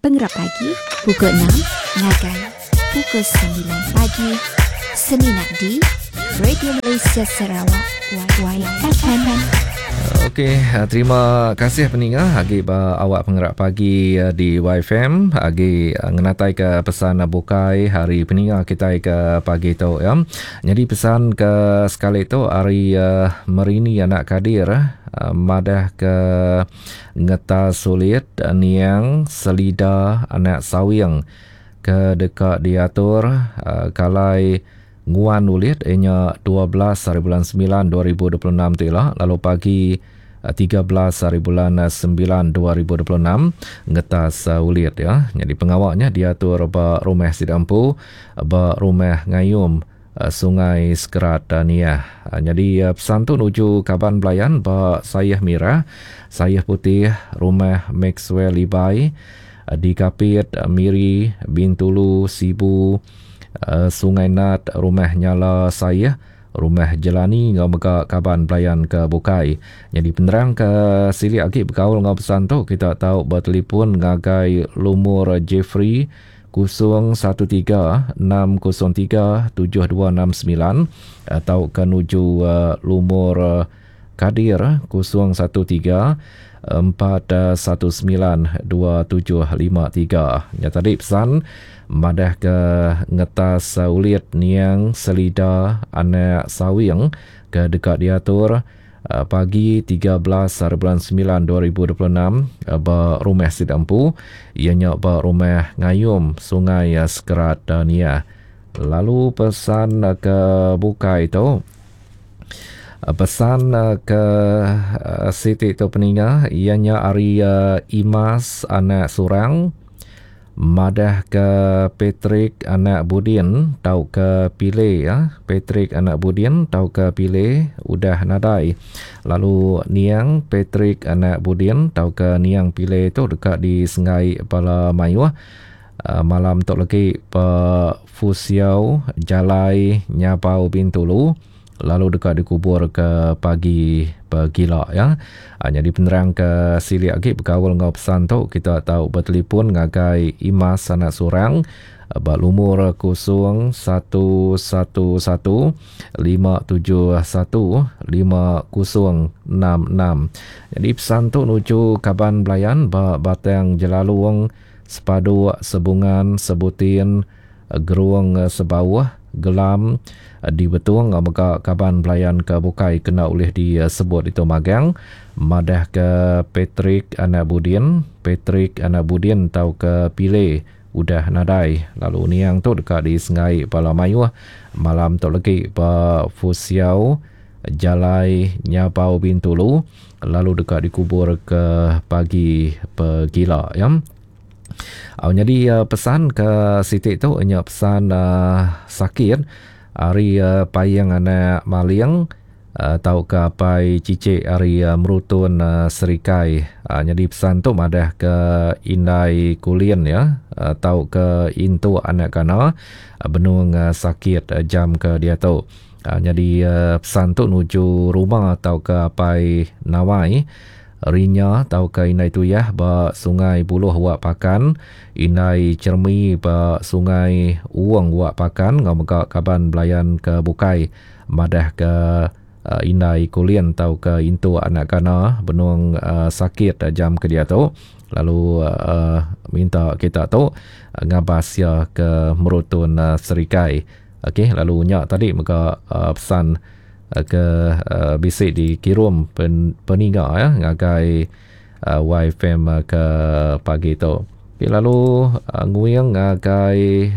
Pengerap Pagi pukul enam ngagai pukul semilan pagi semina di Radio Malaysia Sarawak YFM. Okey, terima kasih peninga agi ba awak pengerak pagi eh, di YFM agi eh, ngenatai ke pesan bukai hari peninga kitai ke pagi tu ya. Nyadi pesan ke sekali tu ari eh, Merini anak Kadir madah ke Ngeta Sulit Niang Selida anak Sawing ke deka diatur kalai nguan ulit iya nya 12 hari bulan semilan 2026 tu ila lalu pagi 13 hari bulan semilan 2026 ngetas ulit iya. Nyadi pengawa nya diatur ba rumah sida empu ba Rumah Ngayum Sungai Sekerat Niah. Nyadi pesan tu nuju kaban belayan ba Sayeh Mirah, Sayeh Putih, Rumah Maxwell Libai, di Kapit, Miri, Bintulu, Sibu, Sungai Nat, Rumah Nyala Sayeh, Rumah Jelani enggau mega kaban belayan ke bukai. Nyadi penerang ke silik agi bekaul enggau pesan tu kita tau betelefon ngagai lumur Jeffrey 0 13 603 7269 tauka nuju lumur Kadir 013 419 2753. Nya tadi pesan madah ke ngetas ulit niang Selida anak Sawing ke deka diatur Pagi 13 hari bulan semilan 2026 ba rumah sida empu iya nya ba Rumah Ngayum Sungai Sekerat Niah. Lalu pesan ke bukai tu pesan ke siti tu peninga iya nya ari Imas anak Surang. Madahka Patrick anak Budin tauka Pile ya, Patrick anak Budin tauka Pile udah nadai. Lalu niang Patrick anak Budin tauka niang Pile tu deka disenggai bala mayuh malam tu legi ba Fusiau Jalai Nyabau Bintulu. Lalu deka dikubur ke pagi pegila ya. Nyadi penerang ke silik agi bekaul enggau pesan tu kita tau betelefon ngagai Imas anak Surang ba lumur 011 571 5066. Nyadi pesan tu nuju kaban belayan ba Batang Jelalong, Sepaduk, Sebungan, Sebutin, Gerung Sebauh, Gelam, di Betong enggau mega kaban belayan ke bukai kena ulih disebut ditu magang madahka Patrick anak Budin, Patrick anak Budin tauka Pile udah nadai lalu niang tu deka disenggai bala mayuh malam tu legi ba Fusiau Jalai Nyabau Bintulu lalu deka dikubur ke pagi pegila ya. Au nyadi pesan ke siti tu nya pesan sakit ari Paing anak Maling tauka apai Chichik ari Merutun Serikai. Nyadi pesan tu madah ke indai Kulin iya tauka Intuk anak Kana benung sakit jam ke diatu. Nyadi pesan tu nuju rumah tauka apai Nawai. Rinya tauka Indai Tuyah ba Sungai Buloh Wak Pakan, Indai Chermi ba Sungai Uong Wak Pakan enggau mega kaban belayan ke bukai madahka Indai Kulin tauka Intu anak Kana benung sakit jam ke diatu lalu minta kita tu ngabas iya ke Merutun Serikai. Okey lalu nya tadi mega pesan ke bisi dikirum peninga ya ngagai YFM ke pagi tu. Okay, lalu nguing ngagai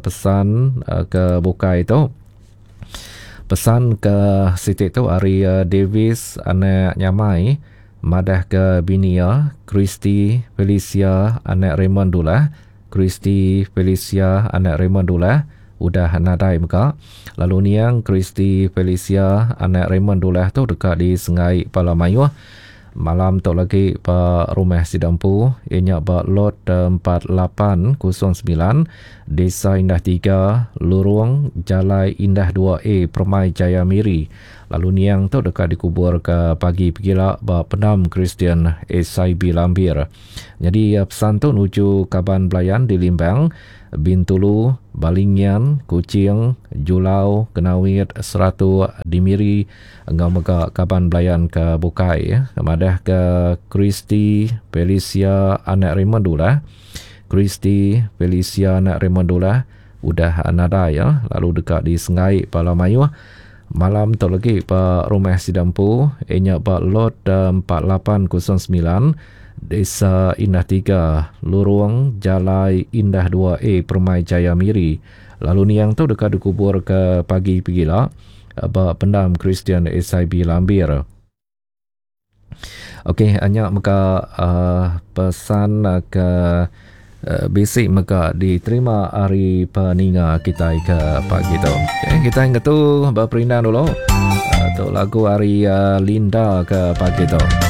pesan ke bukai tu. Pesan ke siti tu ari Davis anak Nyamai madah ke bini iya Christy Felicia anak Raymond Dulah Christy Felicia anak Raymond Dulah udah nadai mega. Lalu niang Christy Felicia anak Raymond Dulah tu deka disenggai bala mayuh malam tu lagi ba rumah sida empu iya nya ba Lot 4809 Desa Indah 3 Lurung Jalai Indah 2A Permai Jaya Miri. Lalu niang tu deka dikubur ke pagi pegila ba Pendam Kristian SIB Lambir. Nyadi pesan tu nuju kaban belayan di Limbang, Bintulu, Balingian, Kuching, Julau, Kenawit, Seratok, di Miri enggau mega kaban belayan ke bukai madahka Christy Felicia anak Raymond Ulah. Christy Felicia anak Raymond Ulah udah nadai lalu deka disenggai bala mayuh malam tu lagi ba rumah sida empu iya nya ba Lot 4809 Desa Indah 3 Lurung Jalai Indah 2A Permai Jaya Miri lalu niang tu deka dikubur ke pagi pegila ba Pendam Kristian SIB Lambir. Okey nya mega uhh pesan ke bisi mega diterima ari peninga kitai ke pagi tu. Okey kitai ngetu beperindang dulu. Tu lagu ari Linda ke pagi tu.